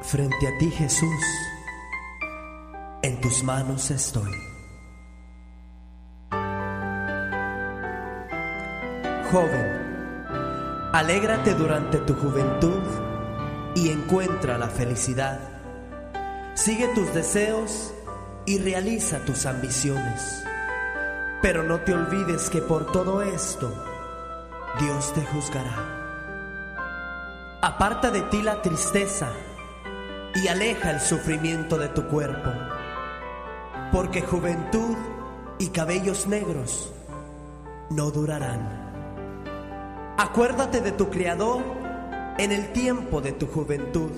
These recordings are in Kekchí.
Frente a ti, Jesús, en tus manos estoy. Joven, alégrate durante tu juventud y encuentra la felicidad. Sigue tus deseos y realiza tus ambiciones. Pero no te olvides que por todo esto Dios te juzgará. Aparta de ti la tristeza y aleja el sufrimiento de tu cuerpo, porque juventud y cabellos negros no durarán. Acuérdate de tu Creador en el tiempo de tu juventud,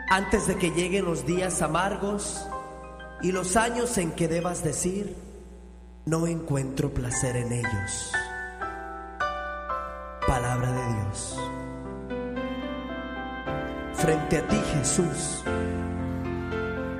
antes de que lleguen los días amargos y los años en que debas decir, no encuentro placer en ellos. Palabra de Dios. Frente a ti, Jesús.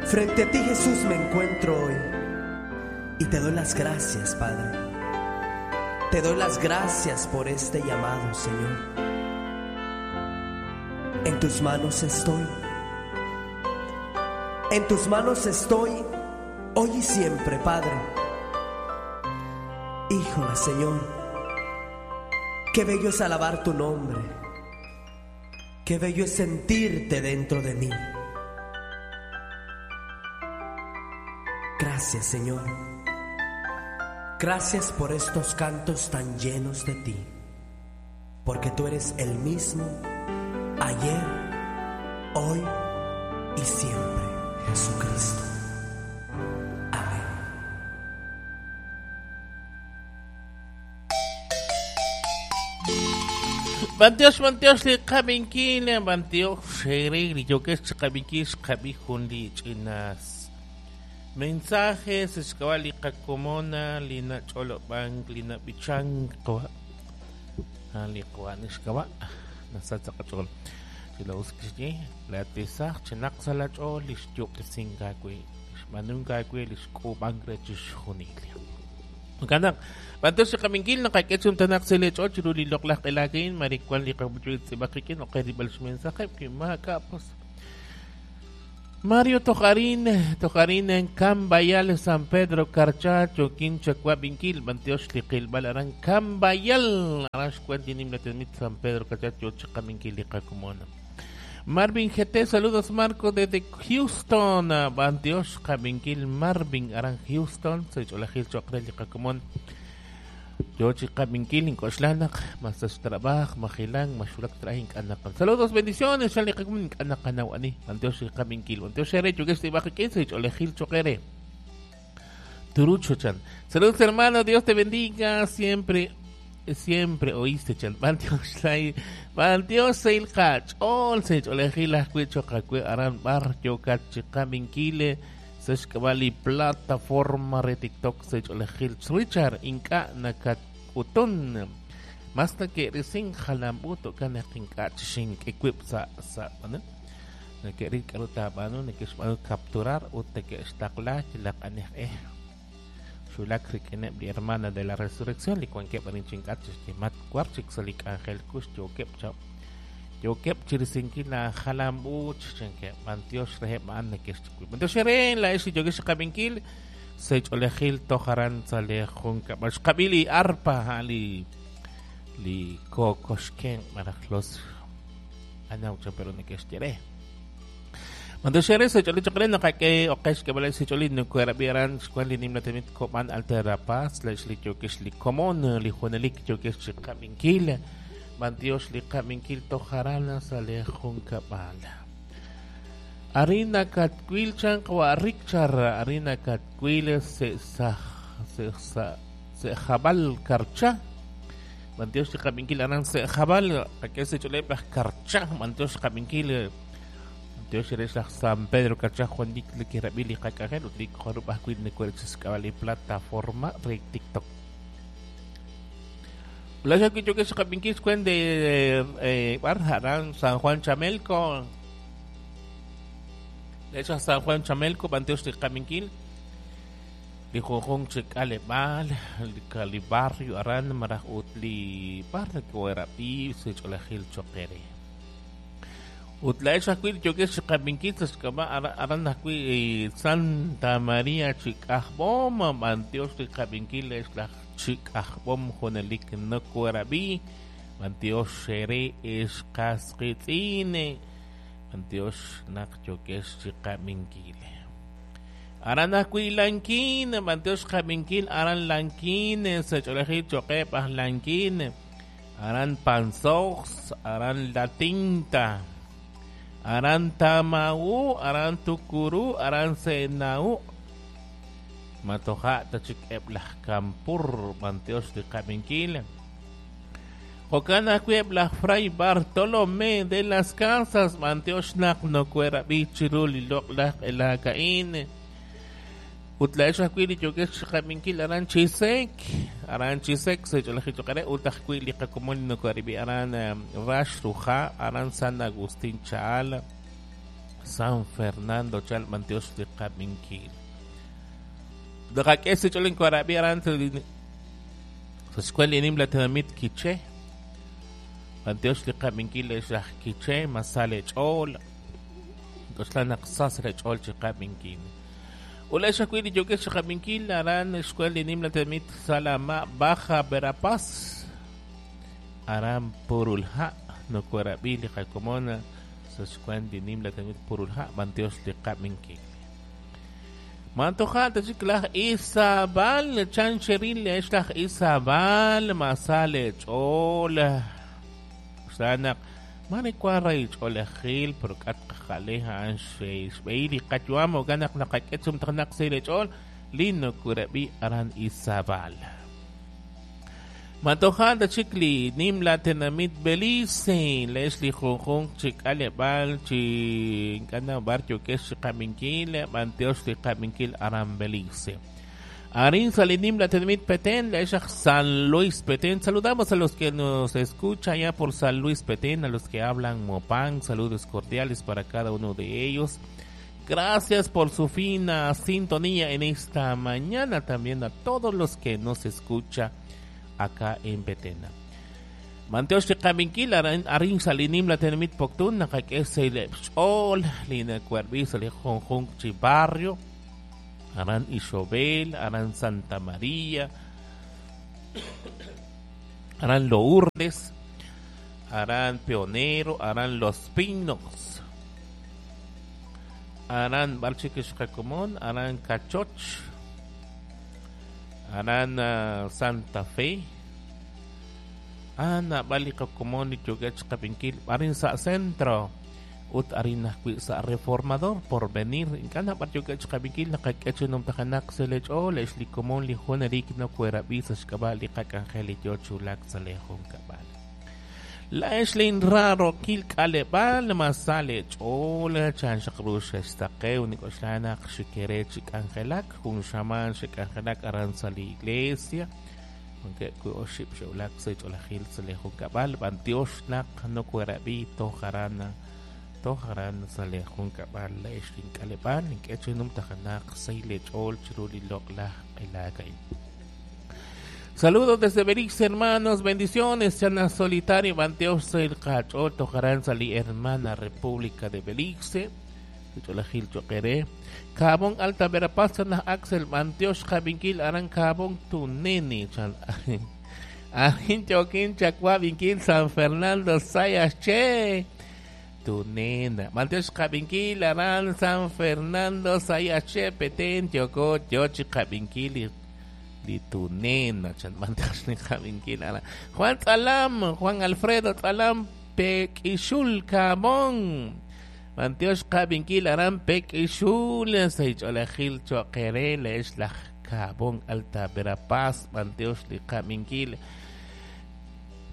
Frente a ti, Jesús, me encuentro hoy. Y te doy las gracias, Padre. Te doy las gracias por este llamado, Señor. En tus manos estoy. En tus manos estoy hoy y siempre, Padre. Híjole, Señor. Qué bello es alabar tu nombre. Qué bello es sentirte dentro de mí. Gracias, Señor. Gracias por estos cantos tan llenos de ti. Porque tú eres el mismo ayer, hoy y siempre, Jesucristo. Amén. Bantiox, bantiox, li qabinkil, bantiox, xerigri, yokex, qabinkil, qabijun, li chinas. Mensajes, escabali, qakomona, lina cholobank, lina bichank, li qawa, nishkawa, nasatsa qachol. Silaus kixye, la tisaj, chinaq salachol, lixyuqtisinkawi, lixmanunkakwi, lixk'ubankre chixjunil. Kanak, Bantos si kaminkil nakaketsum tanak sila chol chiruli loklak ilakin marikwan li kabuchuit si bakikin o kaya bal mensaje kapos. Mario Tojarín, Tojarín en Cambayal, San Pedro Carchacho, Quinchacua, Binquil, Bantiox, Liquil, Balarán, Cambayal, Arash, Cuentin, San Pedro Carchacho, Chacaminquil, Licacumona. Marvin GT, saludos Marco desde Houston, Bantiox, Caminquil, Marvin, Aran Houston, soy Cholajil, Chocrel, Licacumón. Yochi Caminquil, Incoxlanak, Masas Trabaj, Majilang, Mashulak Trajín, Anakan. Saludos, bendiciones, Shali Camin, Anakanawani, Bantiox, Caminquil, Bantiox, Ere, Chugueste, Bajiquín, soy Cholajil, Choquere. Turucho Chan. Saludos, hermano, Dios te bendiga siempre. Siempre oíste, chan. Bantiox, lai, Bantiox, seil kach, ol, sech, olejil, ajkui, chokakui, aran, bar, yokat, chikaminquile, sech, kabali, plataforma, re TikTok, sech, olejil, Richard, inka, nakat, utun. Masta que risin jalambuto, kanak, inka, chishink, equip, sa, sa, ano? Nakirik, aruta, ano, nakishmanu, capturar, ute, que estakla, chilak, anek, Xulak rikineb li hermana de la resurrección li wankeb arin chink'at chixyemat war chik sa li k'anjel kux yookeb cha yookeb chirisinkil la jalambuch chankeb bantiox reheb a'an nakexchikuy bantiox eren la ex yokex xqab'inkil sech'olejil tojaran sa li junkab'al xqab'i li arpa a'an li li kokoxken maraj los anaw cha pero nakexyere Mandoxere se choli chokre no kake okesh ke bala se choli no kuerabiran xkuan li nimla temit koman altera paz la li yokesh li komon li juanelik yokesh chikaminkil bantiox li kaminkil tojarana sale junkabal Arina katkuil chan kwa rikchar arina katkuil se sa se sa se jabal karcha bantiox li kaminkil aran se jabal ake se chole bah karcha bantiox kaminkil Dios eres San Pedro Carchá Juan Dick le que rabili kakajel utlik jorup ajkuit nekuerchis kabali plataforma re TikTok. Plaza que yo que se kapinkis cuen de Barjarán San Juan Chamelco. De hecho San Juan Chamelco Panteos de Kaminquil. Li jojón chikale mal li barrio aran maraj utli barrio que era pi se cholajil choquere. Ut laa'ex ajwi' li yookex chi qab'inkil sa' xk'ab'a' aran ajwi' Santa Maria chi K'ajb'om, b'antiox li qab'inkil ex laj chi K'ajb'om junelik nokoorab'i, b'antiox eere ex qas qiitz'in, b'antiox naq yookex chi qab'inkil. Aran ajwi' Lanquín, b'antiox qab'inkil aran Lanquín, sa' ch'oolejil cho'qeb' aj Lanquín, aran Panzós, aran La Tinta, aran Tamau, aran Tucurú, aran Senau. Matoja' ta chik eb' laj Kampur, b'antiox li qab'inkil. Jo'kan ajwi' eb' laj Fray Bartolomé de las Casas, b'antiox naq nokoherab'i chiru li loq'laj q'elaak a'in. Ut laa'ex ajwi' li yookex chi qab'inkil aran Chisec, aran Chisec sa' ch'oolejil cho'q eere, ut ajwi' li qakomon li nokoharib'i aran Rax Ruja, aran San Agustín Chaal, San Fernando Chal, b'antiox li qab'inkil. Naqak'e sa' ch'oolej nokoharab'i aran sa' xk'wel li nimla tenamit Quiché. B'antiox li qab'inkil ex aj Quiché, masal eech'ool. K'oxla naq sa sa' ch'ool chi qab'inkil. Ut laa'ex ajwi' li yookex chi qab'inkil aran xk'wel li nimla tenamit Salama Baja Verapaz, aran Purulha, nokoherab'i li qakomon sa' xk'wel li nimla tenamit Purulha, b'antiox li qab'inkil. Mantoja' ta chik laj Izabal, chan xeril ex laj Izabal, masal eech'ool. K'oxla naq mare wank rahil ch'oolejil, pero k'at qajale a'an xb'ehil li qayu'am, jo'kan naq naqak'e chumtajenaq sa' eech'ool li nokoherab'i aran Izabal. Matoja' ta chik li nimla tenamit Belice, leex li junjunq chi k'aleb'aal chi ink'a' b'ar yookex chi qab'inkil, b'antiox li qab'inkil aran Belice. Arin sa' li nimla tenamit Petén, leex aj San Luis Petén. Saludamos a los que nos escuchan allá por San Luis Petén, a los que hablan Mopán, saludos cordiales para cada uno de ellos. Gracias por su fina sintonía en esta mañana, también a todos los que nos escucha acá en Petén. B'antiox li qab'inkil arin sa' li nimla tenamit Poptún, naqak'e sa' xch'ool li nakuarb'i sa' li junjunq chi barrio, aran Ixobel, aran Santa María, aran Lourdes, aran Pionero, aran Los Pinos, aran Barchik Xqakomon, aran Cachoch, aran Santa Fe, ana b'al li qakomon li yookeb' chi qab'inkil arin sa' centro ut arin ajwi' sa' Reformador Porvenir. Ink'a' nab'ar yookeb' chi qab'inkil naqak'e chi numtajenaq sa' leech'ool ex li komon li junelik nokoherab'i sa' xk'ab'a' li qak'anjel li yoo chi wulak sa' leejunkab'al. Laa'ex linraarokil k'aleb'aal masal eech'ool chan xaq ru xextaqew nik'oxla naq xikere chi k'anjelak jun xamaan xek'anjelak aran sa' li iglesia. Wankeb' wi' oxib' xe'wulak sa' ch'oolejil sa' leejunkab'al, b'antiox naq nokoherab'i toj aran sa' leejunkab'al laa'ex link'aleb'aal ink'e chi numtajenaq sa' leech'ool chiru li loq'laj q'elaak a'in. Saludos desde Belice, hermanos, bendiciones, Chana Solitario, b'antiox sa' qach'ool toj aran sa' li hermana República de Belice. Ch'oolejil cho'q eere. Kabon Alta Verapaz, chan laj Axel, b'antiox qab'inkil aran Kabon Tuneni, chan arin yookin chakwab'inkil San Fernando Sayas che Tunena. B'antiox qab'inkil aran San Fernando Sayas che Petén yoko yo chi qab'inkil li Tunena, chan b'antiox li qab'inkil aran. Juan Tzalam, Juan Alfredo Tzalam, Pek'ixul Kabon. B'antiox qab'inkil aran Pek'ixul sa' ch'oolejil cho'q eere leex laj Kabon Alta Verapaz, b'antiox li qab'inkil.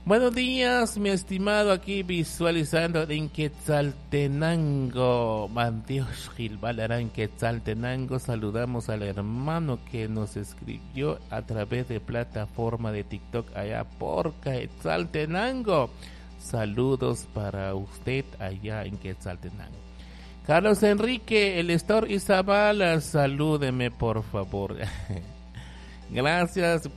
Buenos días, mi estimado, aquí visualizando en Quetzaltenango. B'antiox Gilbal aran Quetzaltenango. Saludamos al hermano que nos escribió a través de plataforma de TikTok allá por Quetzaltenango. Saludos para usted allá en Quetzaltenango. Carlos Enrique, el Estor Izabala, salúdeme por favor. Gracias.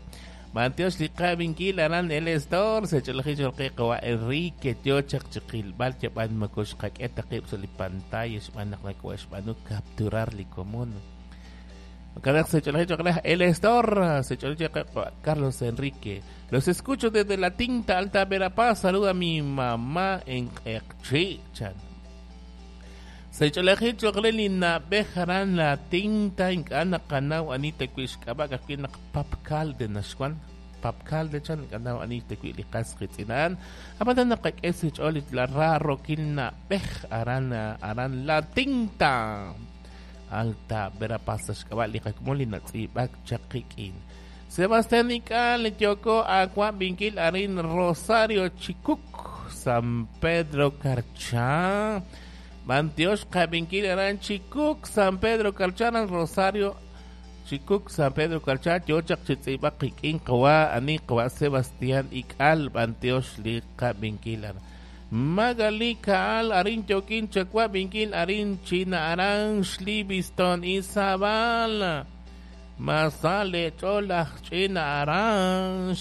B'antiox li qab'inkil aran El Store sech'olajil cho'q qawa' Enrique yo chaq chi qilb'al yab'an moko xqak'e ta qib' sa' li pantalla xb'aan naq nako'xb'aanu capturar li komon. Jo'kan sech'olajil cho'q re El Store sech'olajil cho'q Carlos Enrique. Los escucho desde la Tinta Alta Verapaz. Saluda a mi mamá en Q'eqchi' chan. Sech'olajil cho'q re li na'b'ej aran la Tinta ink'a' naqanaw ani ta wi' xk'ab'a' ka'ajwi' naq Papkalde naxwan. Papkalde chan ink'a' naw ani ta wi' li qas qitz'ina'an. Ab'anan naqak'e sa xch'ool la raarookil na'b'ej aran aran la Tinta Alta Verapaz xk'ab'a' li qakomon li natz'iib'ak chaq qik'in. Sebastián Ik'al yoko aawab'inkil arin Rosario Chikuk San Pedro Carchá. B'antiox qab'inkil aran Chikuk San Pedro Carchá aran Rosario Chikuk San Pedro Carchá yo chaq chi tz'iib'ak qik'in qawa' ani qawa' Sebastián Ik'al b'antiox li qab'inkil aran. Magali Kaal arin yokin chawab'inkil arin China aran Livingston Izabal. Masale ch'ool aj ch'ina aran.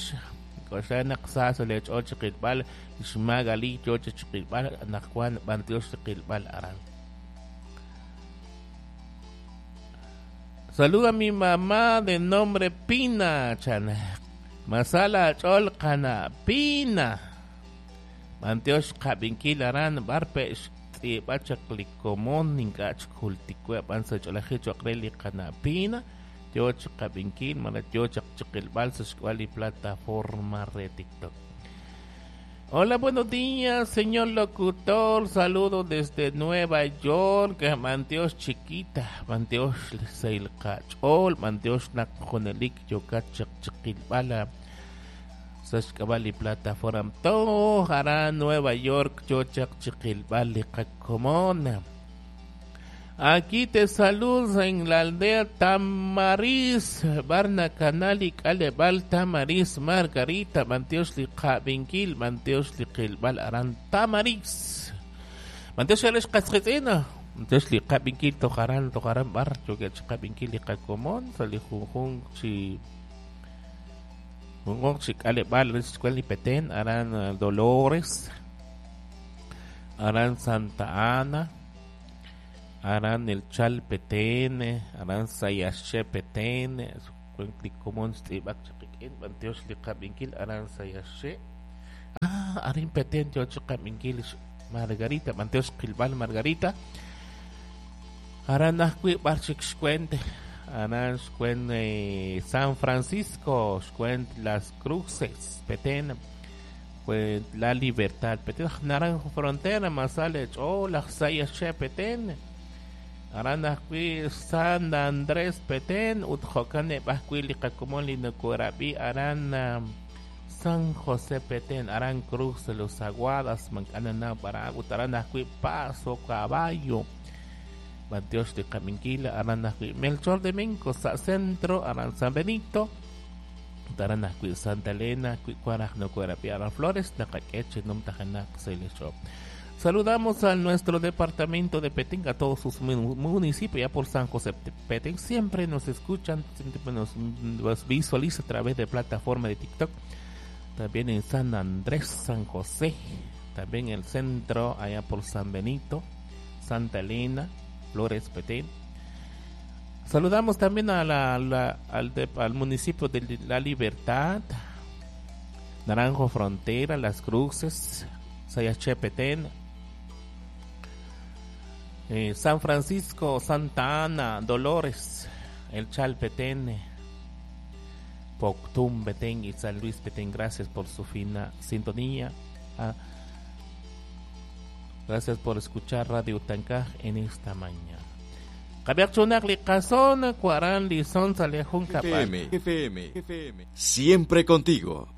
K'oxla naq sa sa le ch'ool chi qilb'al xMagali yo chi qilb'al anaqwan b'antiox chi qilb'al aran. Saluda a mi mamá de nombre Pina chan. Masala ch'ool qana Pina. B'antiox qab'inkil aran b'ar pe' xtz'iib'a chaq li komon ink'a' chik jultik we b'an sa ch'oolajil cho'q re li qana Pina yo chi qab'inkil malaj yo chaq chi qilb'al sa xk'ab'a' li plataforma re TikTok. Hola, buenos días, señor locutor. Saludos desde Nueva York. B'antiox chiquita, b'antiox sa' qach'ool, b'antiox naq junelik yokat chaq chi qilb'al sa xk'ab'a' li plataforma toj aran Nueva York yo chaq chi qilb'al li qakomon. Aquí te saludo en la aldea Tamariz, Barna Canal y Calebal Tamariz, Margarita, b'antiox li qab'inkil, b'antiox li qilb'al aran Tamariz. B'antiox alex qasqitz'ina, b'antiox li qab'inkil toj aran, toj aran b'ar, yookeb' chi qab'inkil li qakomon, sa' li junjunq chi junjunq chi k'aleb'aal rech xk'wal li Petén, aran Dolores, aran Santa Ana, aran el Chal Petén, aran Sayaxché Petén, li komon xtz'iib'ak chaq qik'in, b'antiox li qab'inkil aran Sayaxché. Ah, arin Petén yo chi qab'inkil Margarita, b'antiox qilb'al Margarita. Aran ajwi' b'ar chik xkwent, aran xkwent San Francisco, xkwent Las Cruces, Petén, xkwent La Libertad, Petén, Naranjo Frontera, masale ch'ool aj Sayaxché Petén. Aran ajwi' San Andrés Petén ut jo'kan eb' ajwi' li qakomon li nokorab'i aran San José Petén, aran Cruz de los Aguadas, mank'anana b'ara ut aran ajwi' Paso Caballo. B'antiox li qab'inkil aran ajwi' Melchor de Mencos sa' Centro, aran San Benito, ut aran ajwi' Santa Elena, ajwi' wan aj nokorab'i aran Flores, naqak'e chi numtajenaq sa' li xch'ool. Saludamos a nuestro departamento de Petén, a todos sus municipios, ya por San José de Petén. Siempre nos escuchan, siempre nos visualiza a través de plataforma de TikTok. También en San Andrés, San José, también en el centro, allá por San Benito, Santa Elena, Flores, Petén. Saludamos también a al municipio de La Libertad, Naranjo Frontera, Las Cruces, Sayaxché, Petén, San Francisco, Santa Ana, Dolores, El Chal, Petén, Poctum, Petén y San Luis, Petén. Gracias por su fina sintonía. Gracias por escuchar Radio Tancaj en esta mañana. Qab'iaq li qason, kuaran li son salejun FM, FM, FM. Siempre contigo.